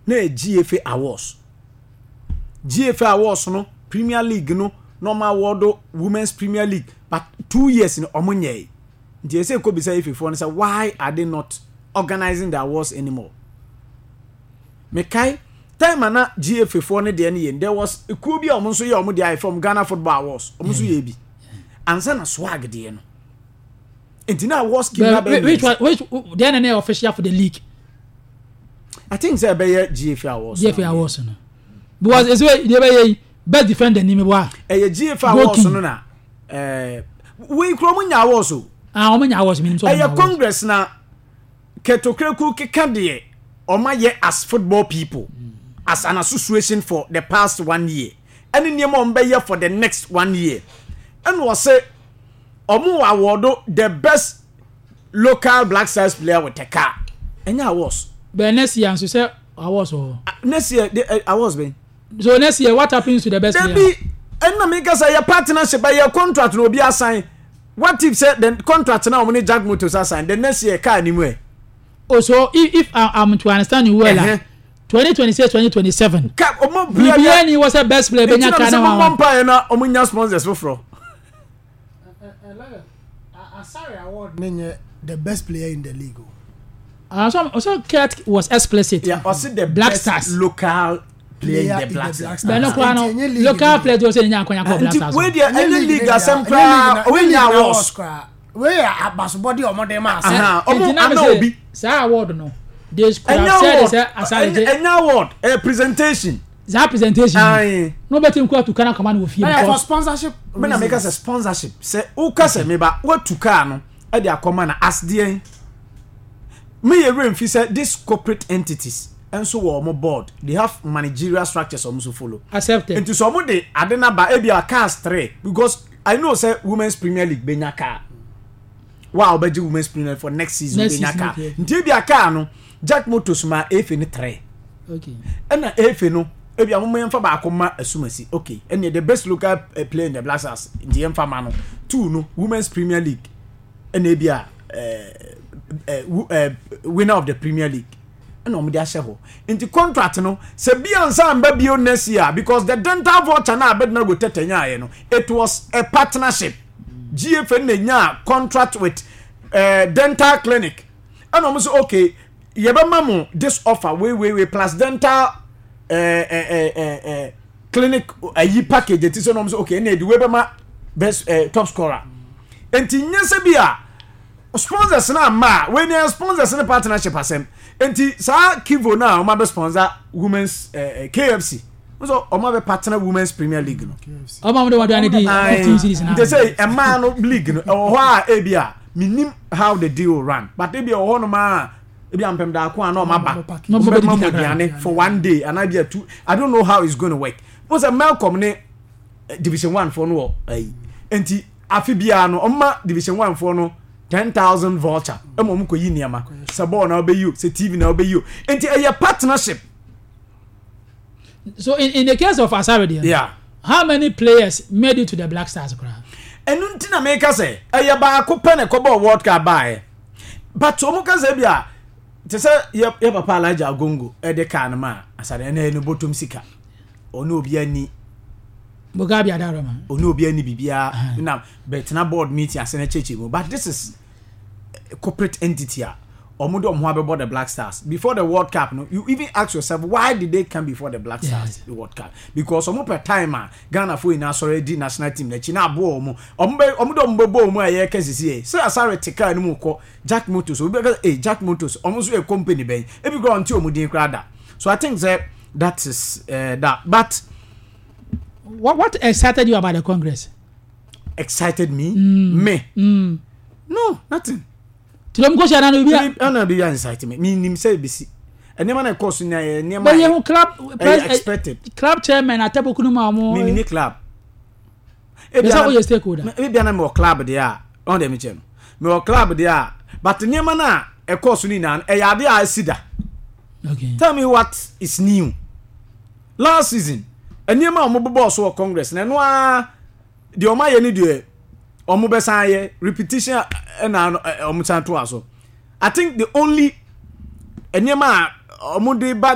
Na yɛ GFA Awards. GFA Awards no, Premier League no, na ɔmo award Women's Premier League, but 2 years no ɔmo nyɛɛ. Nti ɛsɛ kɔ bisa FA foɔ no sɛ, why are they not organizing the awards anymore? Mekae time a na GFA foɔ no deɛ no yɛ, there was ekuo bi a ɔmo nso yɛ ɔmo deɛ ayɛ from Ghana Football Awards, ɔmo nso yɛ bi ansa na SWAG deɛ no. Nti na award scheme na bɛyɛ Which one? Which then na official for the league? I think sɛ ɛbɛyɛ GFA Awards. GFA Awards no, because esi wei deɛ ɛbɛyɛ yi, best defender ni mi bɔ a. Ɛyɛ GFA Awards no na wei kura ɔmo nya awards o. Ah, ɔmo nya awards, mi nim sɛ ɔmo nya Ɛyɛ awards. Congress na Ketokureku keka deɛ ɔmo ayɛ as football people, as an association, for the past one year, ɛne nneɛma ɔmo bɛyɛ for the next one year. Ɛna ɔsɛ ɔmo wɔ award the best local Black Stars player with a car. Ɛnyɛ awards. But next year nso sɛ awards wɔ hɔ. Ah, next year de awards bɛn? So next year, what happens to the best player? Dabi, ɛnna mi kasa yɛ partnership, ɛyɛ contract na obi asign. What if sɛ the contract na wɔn ne Jack Motors asign, the next year car ni mu ɛ? Oh, so if I'm to understand you well, 2026, 2027. Ka ɔmo Biribiara ni wɔ sɛ best player bɛnya Nti na car mi na sɛ mo wa. bɔ mpa yɛ na ɔmo nya sponsors foforɔ. Asare award ne nyɛ the best player in the league o. Ah, so Kurt was explicit. Yeah, ɔsi the Black best Stars. Local player in the Black Stars. Bɛn no koraa no, Nti ɛnyɛ league local bi. player tí o sɛ nya akɔnya kɔ Black Nti Stars. wei deɛ, ɛnyɛ league asɛm koraa, ɔmo nya awards. Wei yɛ abasobɔde a ɔmo de ma ase. Aha, ɔmo Nti na mi ana sɛ obi. Saa award no, they could Ɛnyɛ have said award. sɛ Asare gye. Ɛnyɛ award, ɛyɛ presentation. Saa presentation Aye. no bɛ ti n kura tu kana kama ni wɔ fie Ɛyɛ for because sponsorship Me na meka sɛ sponsorship sɛ woka sɛ meba woatu car no ɛde akɔma no as deɛn? Meyɛ werɛ mfi sɛ this corporate entities nso wɔ ɔmo board, they have managerial structures ɔmo nso follow. Accepted. Nti sɛ ɔmo de ade no aba, ebi a cars three, because I know sɛ Women's Premier League benya car wa a ɔbɛgye Women's Premier League for next season Next benya season, car. Nti ebi a car no, Jack Motors ma efe ne three, ɛna efe no ebi a mo yɛmfa baako ma Asumasi. Okay, ɛnna the best local player in the Black Stars, nti yɛmfa ma no. Two no, Women's Premier League, ɛna ebi a ɛɛ ɛɛ winner of the Premier League, ɛna wɔn de ahyɛ hɔ. Nti contract no sɛ bi ansa mba bio next year, because the dental voucher na Abednego Tete nyaayɛ no, it was a partnership. GFA na nya contract with dental clinic, ɛna wɔn sɛ, okay, yɛbɛma mo this offer wei wei wei plus dental clinic ayi package eti sɛ, na wɔn sɛ, okay, ɛna edi wei bɛma best top scorer. Nti nye sɛ bi a sponsors na ama a wei ni sponsors ne partnership asɛm. Nti saa Kivo na wɔn abɛ sponsor women's KFC nso, wɔn abɛ partner Women's Premier League no. Ɔmo amu de wɔn aduane di 15 cedis na. Nti sɛ mmaa no league no ɛwɔ hɔ a, ebi a minim how the deal will run, but ebi ɛwɔ hɔ nom a, ebi a mpɛm daako a na ɔmo aba, Na ɔmo ɔmo bɛma mo bɛdidi kakra. aduane for one day anaa bi a two. I don't know how it's going to work. Mo sɛ Melcom ne Division One foɔ no wɔ ɛyi, nti afi biara no ɔmo ma Division One foɔ no 10,000 voucher ɛma ɔmo kɔ yi nneɛma, sɛ bɔɔl na ɔbɛyi o, sɛ TV na ɔbɛyi o. Nti ɛyɛ partnership. So in the case of Asare deɛ, how many players made it to the Black Stars koraa? Ɛnu nti na meka sɛ ɛyɛ baako pɛ na ɛkɔbɔ World Cup baeɛ, but ɔmo ka sɛ bi a te sɛ yɛ papa Alhaji Agongo ɛde kaa no ma Asare, ɛna ɛno bɔtɔm sika ɔne obi ani. Mugabe Adaroma. Ɔne obi ani biribiara na bɛtena board meeting ase na kyerɛkyerɛ mu. But this is a corporate entity a ɔmo de ɔmo ho abɛbɔ the Black Stars before the World Cup no. You even ask yourself, why did they come before the Black Stars the World Cup? Because ɔmo pɛ time a Ghana fo nyinaa sɔrɔ adi national team n'akyi na aboɔ ɔmo. Ɔmo bɛ ɔmo de ɔmo bɛbɔ ɔmo a yɛreka sisi yɛ sɛ Asare te kaa no mu kɔ Jack Motors, obi bɛka sɛ, ee, Jack Motors ɔmo nso yɛ company bɛn? Ebi kora ɔnte ɔmo din koraa da. So I think sɛ that is that, but What excited you about the congress? Excited me? Me? No, nothing. Tí ló mú kó ṣe àná ni obi a. Ɛna bi yɛ excite me, mi nim sɛ ebisi nneɛma na ɛkɔ so nyinaa yɛ nneɛma Bẹ́ẹ̀ yẹn club ɛyɛ expected. Club chairman atẹ́bùkún mu àwọn. Mi ni club. Ebi sɛ woyɛ stakeholder. Ebi ana mi wɔ club deɛ a, ɔn deɛ mi kyɛ no, mi wɔ club deɛ a, but nneɛma na ɛkɔ so nyinaa no ɛyɛ ade a ɛsi da. Tell me what is new. Last season nneɛma a wɔn bobɔɔ so wɔ congress na ɛno ara deɛ wɔn ayɛ ne deɛ wɔn bɛsan ayɛ repetition, ɛna wɔn san to aso. I think the only nneɛma a wɔn de ba.